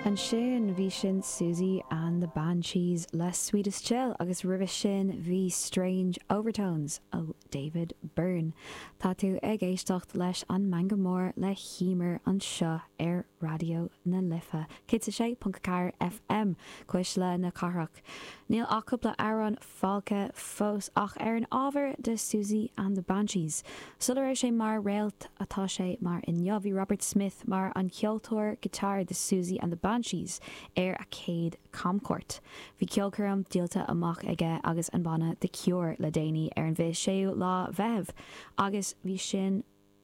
Ansin bhí sin Siouxsie and the Banshees le Sweetest Chill agus roimhe sin bhí Strange Overtones ó David Byrne. Tá tú ag éisteacht leis an Meangadh Mór le hEmer anseo ar Raidió na Life, 106.4 FM, Cuisle na Cathrach. Níl ach cúpla amhrán fágtha fós ach ar an ábhar de Siouxsie and the Banshees. Sula raibh sé mar réalt atá sé mar inniu, bhí Robert Smith mar an ceoltóir guitar de Siouxsie and the Banshees ar a chéad camchuairt. Bhí ceolchoirm díolta amach aige agus an banna The Cure le déanaí ar an 26ú lá Mheitheamh agus bhí sin.